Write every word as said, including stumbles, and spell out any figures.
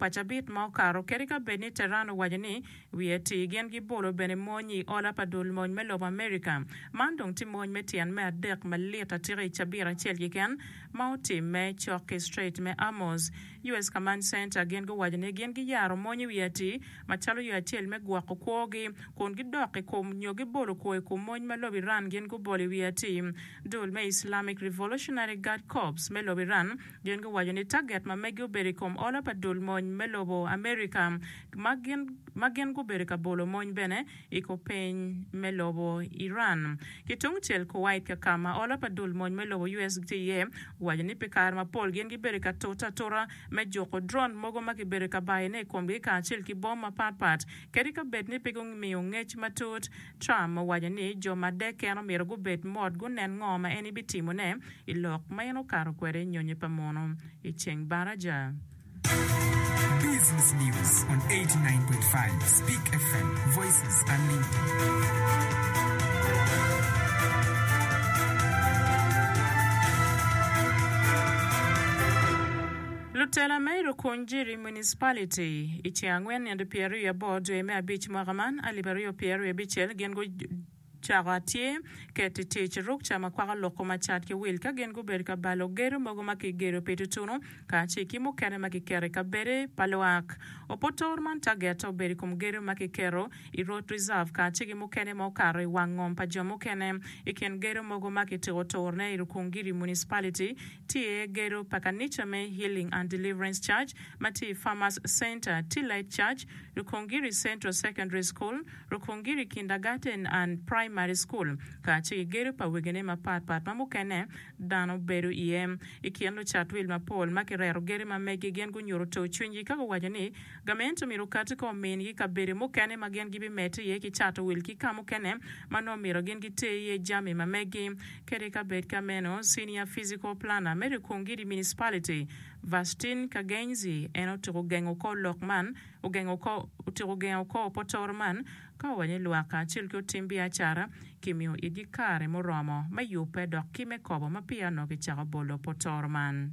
pa cabit ma okato kadi ka bed ni Tehran owaco ni wiye tir gin gibolo bene mony i ola pa dul mony me lobo Amerika. Man dong tye mony me tyen me adek malit atika i cabit acel keken ma otimme cok ki Strait me Hormuz. U S Command Center gin guwaco ni gin giyaro mony i wiye atir macalo yo acel me gwoko kwogi kun gidok i kom nyo gibolo kwo i kom mony ma lobo Iran gin gubolo i wiye atir. Dul me Islamic Revolutionary Guard Corps me lobo Iran gin guwaco ni target ma megi obedo i kom ola pa dul mony me lobo Amerika ma gin ma gin gubedo ka bolo mony bene i kor piny me lobo Iran. Ki tungcel Kuwait ka ka ma ola pa dul mony me lobo U S tye iye owaco ni pi kare mapol gin gibedo ka tute atura me juko drone mogo ma kibedo ka bayone i komgi kacel ki bom mapatpat kadi ka bed ni pe gumiyo ngec matut. Trump owaco ni jo ma dek ken omyero gubed mot gunen ngo ma en ibitimone i lok ma en okato kwede i nyonyo pa muno i ceng baraja. Business News on eighty-nine point five Speak F M, Voices Unlimited. Lutela me Rukungiri Municipality i ceng angwen nino pyeraryo wiye aboro dwe me abic mwaka man alip aryo pyeraryo wiye abicel gin gucako atye keto i tic rukca ma kwako loko macat ki wil ka gin gubedo ka balo gedo mogo ma kigedo pi tutunu kacel ki mukene ma kiketo i kabede pa lwak. Opotor man target obedo i kom gedo ma kiketo i Road Reserve kacel ki mukene ma okato i wang ngom pa jo mukene. I kin gedo mogo ma kitiko turne i Rukungiri Municipality tye gedo pa kanica me Healing and Deliverance Church ma tye i Farmers Center, T-Light Church, Rukungiri Central Secondary School, Rukungiri Kindergarten and Primary School kacel ki gedo pa wegine mapatpat ma mukene dano bedo iye. I kin lucat wil mapol ma kireto gedo ma megi gin gunyuto tur cwinygi ka guwaco ni gamente omyero okati ko omingi kabedo mukene ma gin gibimedde iye ki cato wil ki ka mukene ma nongo myero gin giter iye jami ma megi. Kadi ka bed ka meno, Senior Physical Planner me Rukungiri Municipality Vastin Kagenzi en otuko gengo kor lok man ogengo ko otuko gengo kor opotor man ka owaco ni lwak kacel ki otim biacara kimiyo itgi kare muromo me yubbe dok ki me kobo ma peya onongo kicako bolo potor man.